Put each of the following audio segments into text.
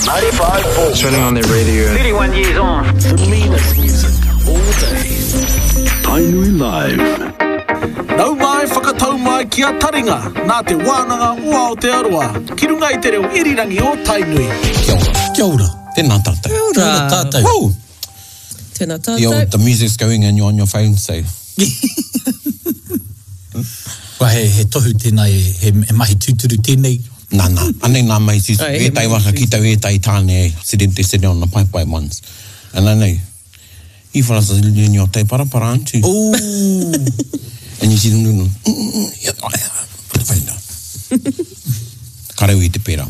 95.4. Turning on the radio. 31 years on. The meanest music all day. Tainui Live. Nau mai whakatau mai ki a Taringa, nā Te Wānanga o Aotearoa, ki runga i te reo irirangi o Tainui. Kia ora. Kia ora. Tēnā tātou. Kia ora tātou. Woo! Tēnā The, old, tātou. the music's going and you're on your phone, so. Well, he, he tohu tēnā, he, he, he mahi tūturu tēnei. Nā, nā, anei nā mahi tūturu. Ai, he Ētahi mahi waka ki tau ētahi tāne e sitting, they sit on the paepae ones. And I know, you fellas are doing your te parapara, aren't you? Ooh. And you see them doing, mm, mm, mm, yeah, oh, yeah, put the phone down. Kareu i te pērā.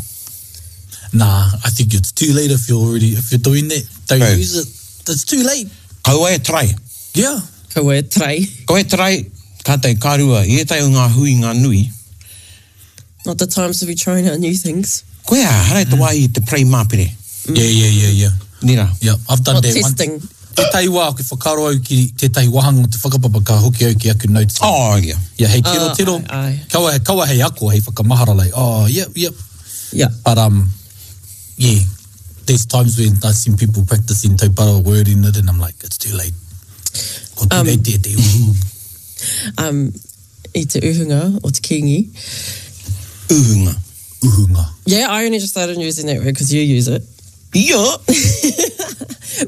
Nah, I think it's too late if you're already, if you're doing that. Don't Bro. use it. It's too late. Kaua e try. Yeah. Kaua e try. Kaua e try, ka tei, ka rua, i ētahi o ngā hui ngā nui, Not the times to be trying out new things. Koe a, haere te wāhi i te prei māpere. Yeah, yeah, yeah, yeah. Nira. Yeah, I've done Not that testing. once. Tētahi wā, ki whakaaro au ki tētahi wāhanga o te whakapapa, ka hoki au ki aku notes. Oh, yeah. Yeah, hei tiro Ah, tiro. ai, ai. Kaua, kaua hei ako, hei whakamahara, like, oh, yep, yep. Yeah. But, um, yeah, there's times when I've seen people practicing taupara wording it and I'm like, it's too late. Ko too late te te uhu. Um, i te uhunga o te Kingi. Uhunga. Uhunga. Yeah, I only just started using that word because you use it. Yeah.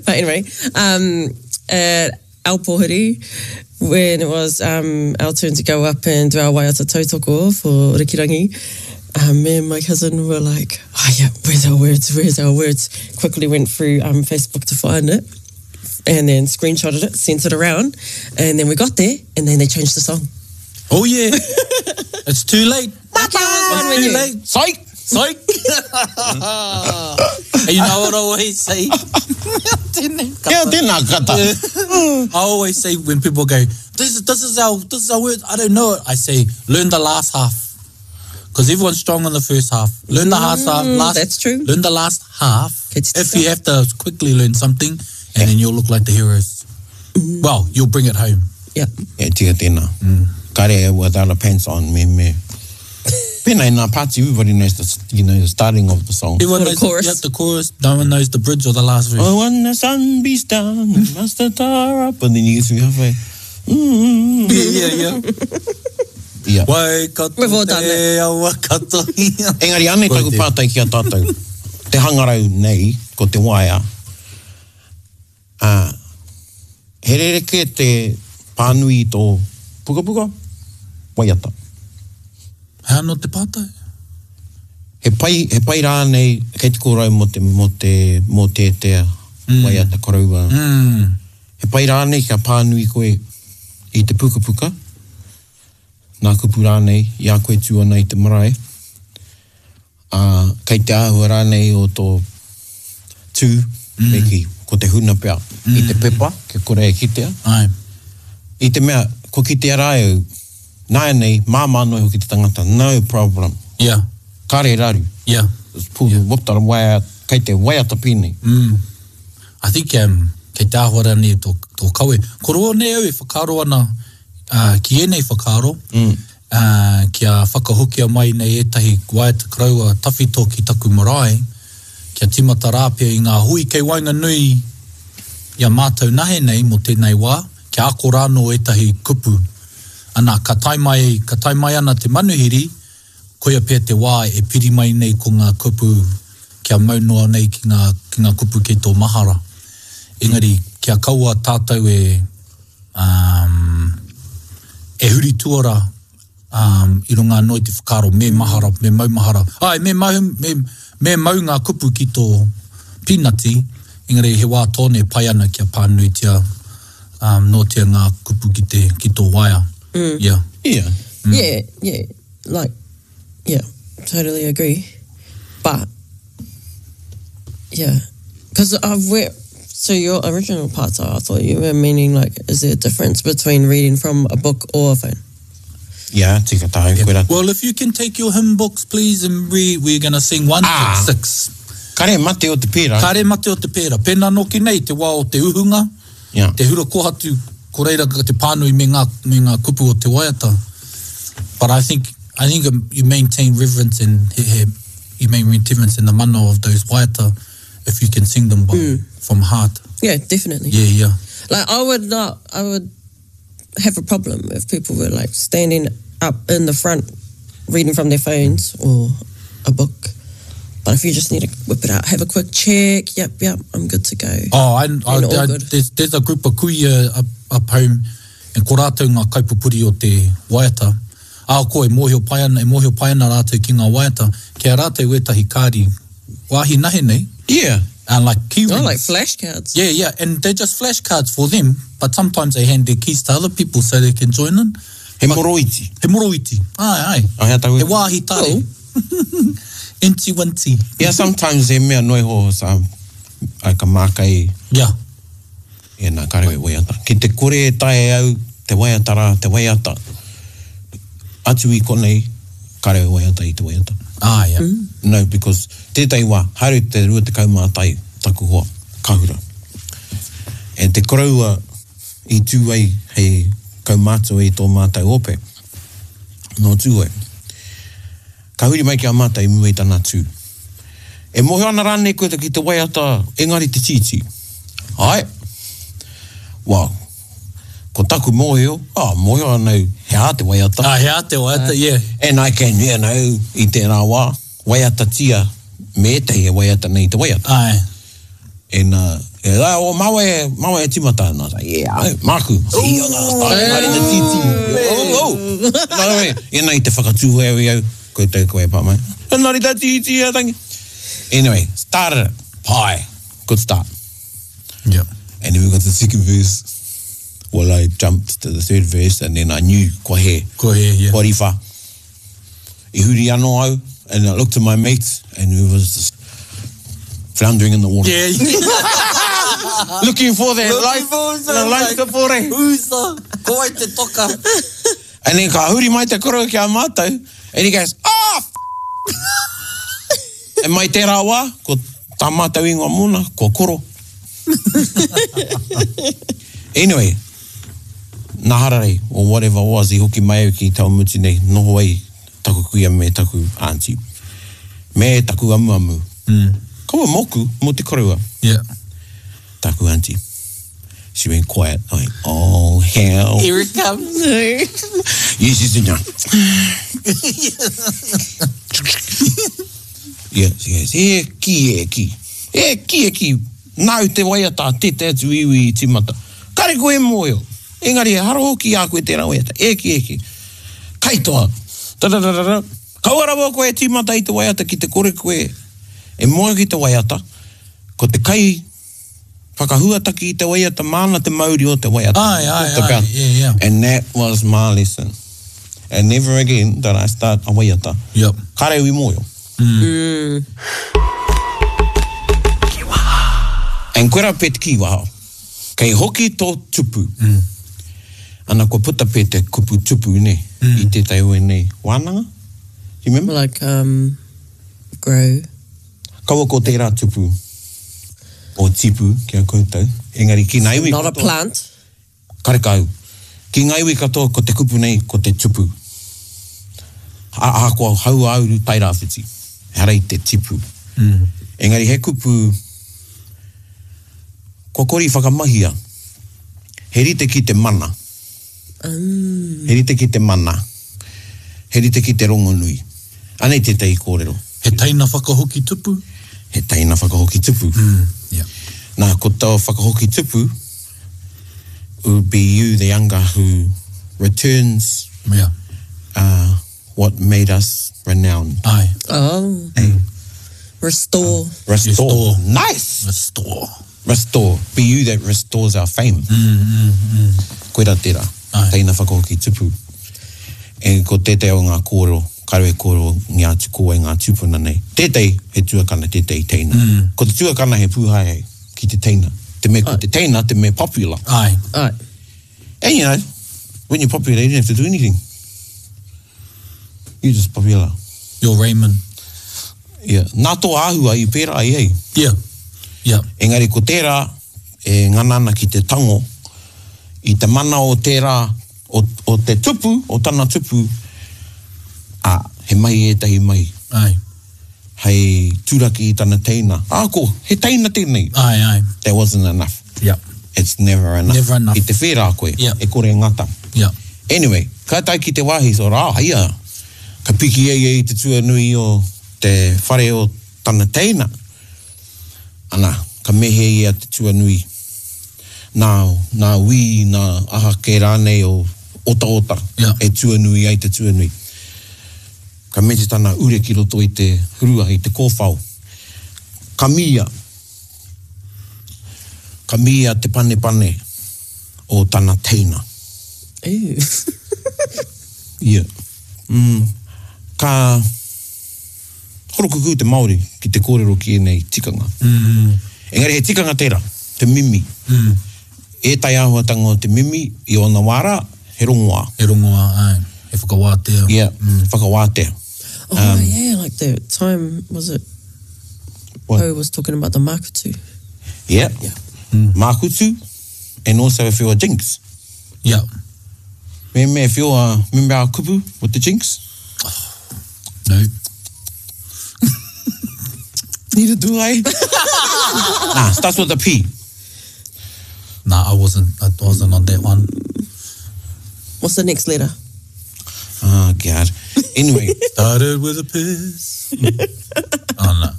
But anyway, um, at Alpohiri, when it was um, our turn to go up and do our waiata tautoko for Rikirangi, um, me and my cousin were like, oh yeah, where's our words, where's our words? Quickly went through um, Facebook to find it and then screenshotted it, sent it around, and then we got there and then they changed the song. Oh, yeah. it's too late. Lucky I was one It's with too you. late. Psych! Psych! And you know what I always say? Tēnei kata. Kia tēnā kata. I always say when people go, this, this is our this is our word. I don't know it. I say, learn the last half. Because everyone's strong on the first half. Learn the last half. Last, Mm, that's true. Learn the last half. It's If you have to quickly learn something, and then you'll look like the heroes. Mm. Well, you'll bring it home. Yeah. E tika tēnā. Kare without a pants on, me me. Pēnā i ngā party, everybody knows the, you know, the starting of the song. Everyone Or the knows chorus. Yeah, the chorus. No one knows the bridge or the last verse. Oh, when the sun beats down, and must the tar up, and then you get through halfway. Mm, Yeah, yeah, yeah. yeah. Waikato We've all done te awa katoia. Engari, anei taku Koe te- pātai ki a tātou. Te hangarau nei, ko te waea. Uh, he rerekē te pānui i tō pukapuka, waiata. Hea no te pātai? He pai, he pai rānei, kei te kōrau mō te, mō te, mō te tea, mm. waiata koroua. Mm. He pai rānei kia pānui koe i te pukapuka, nā kupu rānei, i a koe tū ana i te marae, ā, kei te āhua rānei o tō tū, mm. me ki, ko te huna pea, mm. i te pepa, kia kore e kitea. Ai. I te mea, ko kitea rā au, nāianei, māmā noa iho ki te tangata, no problem, Yeah, kare raru. yeah. Pull yeah. whoop tara waia, kei te waiata pēnei. Mm. I think um, kei te āhua rānei tō, tō kawe. Ko roa nei au e whakaaro ana uh, ki ēnei whakaaro, mm. uh, kia whakahokia mai nei ētahi waiata koroua tawhito ki taku marae, kia timata rāpea i ngā hui kei waenganui i a mātou nahe nei mō tēnei wā, kia ako rānō ētahi kupu. Ana, ka tae mai, ka tae mai ana te manuhiri, koia pea te wā e piri mai nei ko ngā kupu kia mau noa nei ki ngā, ki ngā kupu kei tō mahara. Engari, kia kaua tātou e, um, e huri tuara um, i runga anō i te whakaaro, me mahara, me maumahara. Ai, me mau, me, me mau ngā kupu ki tō pīnati, engari he wā tōne pai ana kia pānuitia um, nōtia ngā kupu ki, te, ki tō waea. Mm. Yeah. Yeah. Yeah, yeah. Like, yeah, totally agree. But, yeah. Because I've read, so your original parts, I thought you were meaning, like, is there a difference between reading from a book or a phone? Yeah, tika tāu, koe rā. Well, if you can take your hymn books, please, and we, we're going to sing 1, Ah. 6, Kare mate o te pērā. Kare mate o te pērā. Pēnā noki nei te wā o te uhunga, Yeah. te hura kohatu, ko reira ka te pānui me ngā, me ngā kupu o te waiata. But I think, I think um, you maintain reverence and he, he, you make me difference in the mana of those waiata if you can sing them by, mm. from heart. Yeah, definitely. Yeah, yeah. Like I would not, I would have a problem if people were like standing up in the front reading from their phones or a book. But if you just need to whip it out, have a quick check, yep, yep, I'm good to go. Oh, I, I, I, there's, there's a group of kuia up, up home, and ko rātou ngā kaipupuri o te waiata. Ahakoa e mōhio pai ana, e mōhio pai ana rātou ki ngā waiata, ki a rātou wētahi kāri wāhi nahe nei. Yeah. And like key rings. Oh, like flashcards. Yeah, yeah, and they're just flashcards for them, but sometimes they hand their keys to other people so they can join in. He moroiti. He moroiti. Ai, ai. Oh, hea taku... He wāhi tare. Cool. Inti winti. Yeah, sometimes he mea noa iho sa, ai ka māka i... Yeah. E nā, kāre e waiata. Ki te kore e taea e au te waiata rā, te waiata, atu i konei, kāre e waiata i te waiata. Ah, yeah. No, because tētahi wā, haere te 21 taku hoa, Kahura. And te koroua i tū ai hei kaumātua i tō mātou ope, nō Tūhoe. Ka huri mai ki a mātou i mua i tana tū. E mōhio ana rānei koe ki te waiata engari te tītī? Āe. Well, ko taku mōhio, oh, mōhio ana au he aha te waiata. Ah, he aha te waiata, yeah. And I can, you know, i tērā wā, waiatatia me ētahi e waiata nei te waiata. Āe. And, uh, yeah, oh, māua e, māua e tīmata. And I was like, yeah, au, māku. Ooh, engari te tītī. Oh, oh. Nā wai, ina i te whakatūhoe au, koutou koe e pā mai. Engari te tītī a tangi. Anyway, started it. Pai. Good start. Yeah. And then we got to the second verse. Well, I jumped to the third verse and then I knew kua he. Kua he, yeah. Kua riwha. I huri anō au, and I looked at my mates, and we was just floundering in the water. Yeah. Looking for their Looking life, for the life support. Who's the, ko wai te toka? And then ka huri mai te koro ki a mātou, and he goes, ah, f-. And mai tērā wā, ko tā mātou ingoa mōna, ko Koro. Anyway, nā Hararei, or whatever was, i hoki mai au ki Taumutu nei, noho ai taku kuia me taku aunty, me taku amuamu. Kaua mōku, mō te koroua. Yeah. Taku aunty. She went quiet. I went, oh, hell. Here it comes. Yes, yes, no. Yeah, she goes, e ki, e ki. E ki, e ki. Nāu te waiata a tētahi atu iwi i tīmata. Kare koe e mōhio. Engari he hara hoki i a koe tērā waiata. E ki, e ki. Kaitoa. Ta-ra-ra-ra-ra. Kaua rawa koe e tīmata i te waiata ki te kore koe e mōhio ki te waiata. Ko te kai whakahuataki i te waiata māna te mauri o te waiata. Ae, ae, ae, yeah, yeah. And that was my lesson. And never again did I start a waiata. Yep. Kare au i mōhio. Mm. And koira pe te kīwaha. Kei hoki tō tupu. Mm. Ana kua puta pe te kupu tupu, ne, mm. i tētahi o ēnei wānanga. Do you remember? Like, um, grow. Kaua ko tērā tupu o tipu ki a koutou, engari ki ngā iwi Not a plant. Karekau. Ki ngā iwi katoa ko te kupu nei ko te tupu. Ahakoa hauāuru tairāwhiti, ehara i te tipu. Engari he kupu kua kore i whakamahia. He rite ki te mana. He rite ki te mana. He rite ki te rongonui. Anei tētahi kōrero. He teina whakahoki tupu. He teina whakahoki tupu. Yeah. Nā, ko taua whakahoki tupu, it would be you, the younger, who returns yeah. uh, what made us renowned. Aye. Oh. Hey. Restore. Restore. Restore. Nice! Restore. Restore. Be you that restores our fame. Mm, mm, mm. Koira tērā. Aye. Teina whakahoki tupu. E ko tētahi o ngā kōrero, kāre e kōrero ngia atu ko wai ngā tūpuna nei. Tētahi he tuakana, tētahi teina. Mm. Ko te tuakana he pūhaehae ki te teina. Te mea ko te teina, te mea popular. Aye. Aye. And you know, when you're popular, you don't have to do anything. You're just popular. You're Raymond. Yeah. Nā tō āhua i pērā ai ai. Yeah. Yeah. Engari ko tērā e ngana ana ki te tango i te mana o tērā, o, o te tupu, o tana tupu, ā, he mahi ētahi mahi. Aye. Hei turaki i tana teina. Ā, ko, he teina tēnei. Āe, āe. That wasn't enough. Yeah. It's never enough. Never enough. I te whērā koe, Yeah. e kore ngata. Yeah. Anyway, ka tae ki te wāhi, so rā, ia, ka piki e ia i te tuanui o te whare o tana teina. Ana, ka mehe ia te tuanui, nā, nā wī, nā aha kē rānei o otaota Yeah. e tuanui ai te tuanui. Ka mete tana ure ki roto i te rua, i te kōwhao. Ka mīia. Ka mīia te panepane o tana teina. Ew. Ia. Mm. Ka horokukū te Māori ki te kōrero ki ēnei tikanga. Mm. Engari he tikanga tērā, te mimi. Mm. Ētahi āhuatanga o te mimi i ōna wā rā, he rongoā. He rongoā, āe. He whakawātea. Yeah, whakawātea. Oh, yeah, like the time, was it? What? Poe was talking about the makutu. Yeah. Yeah. Mākutu, and also if you're a jinx. Yeah. Remember if you're a, remember our kupu with the jinx? No. Neither do I. nah, starts with a P. Nah, I wasn't, I wasn't on that one. What's the next letter? Oh, God. Anyway, Started with a piss. oh, no.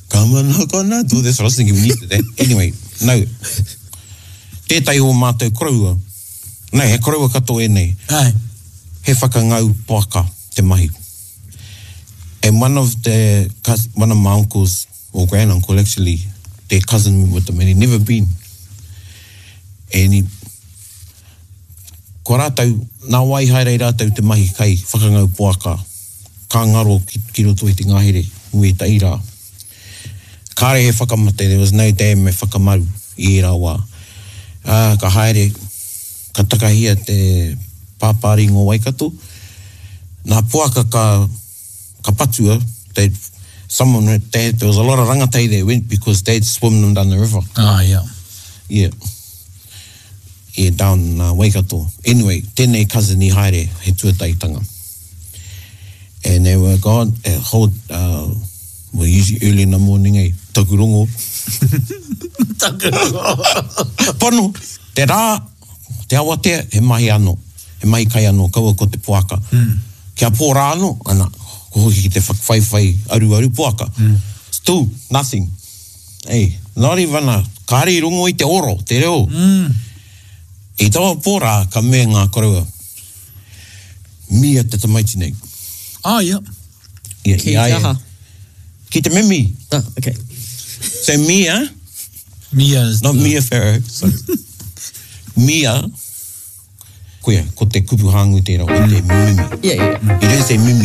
come on, not gonna do this. I was thinking we needed that. Anyway, no. Tētahi o mātou koroua. No, he koroua katoa ēnei. Aye. He whakangau poaka te mahi. And one of the one of my uncles, or granduncle actually, their cousin went with them and he'd never been. And he, ko rātou, nā wai haere rātou te mahi kai whakangau poaka, ka ngaro ki, ki roto i te ngahere, ue ta ira. Kāre he whakamate, there was no dam e whakamaru i ērā wā. Ā, ka haere, ka takahia te pāpāringa o Waikato. Nā poaka ka, ka patua, they, someone, they, there was a lot of rangatahi that went because they'd swim them down the river. Ah, yeah. Yeah. Yeah, down uh, Waikato. Anyway, tēnei cousin i haere, he tuataitanga. And they were gone, uh, hold, uh, well, usually early in the morning, eh, taku rongo. Taku rongo. Pono, te rā, te awatea, he mahi anō. He mahi kai anō, kaua ko te poaka. Mm. Kia pō rā anō, ana, ko hoki ki te whakawhaiwhai aruaru poaka. Mm. Still, nothing. Hey, not even a, kāre i rongo i te oro, te reo. Mm. I taua pō rā, ka mea ngā koroua, Mia te tamaiti nei. Ah, yeah. Yeah, Ki i a te ia. aha? Ki te mimi. Ah, okay. So Mia, Mia is not the... Mia Farrow, sorry. Mia, koia, ko te kupu hāngu tērā, ko te mimi. Yeah, yeah. You don't say mimi.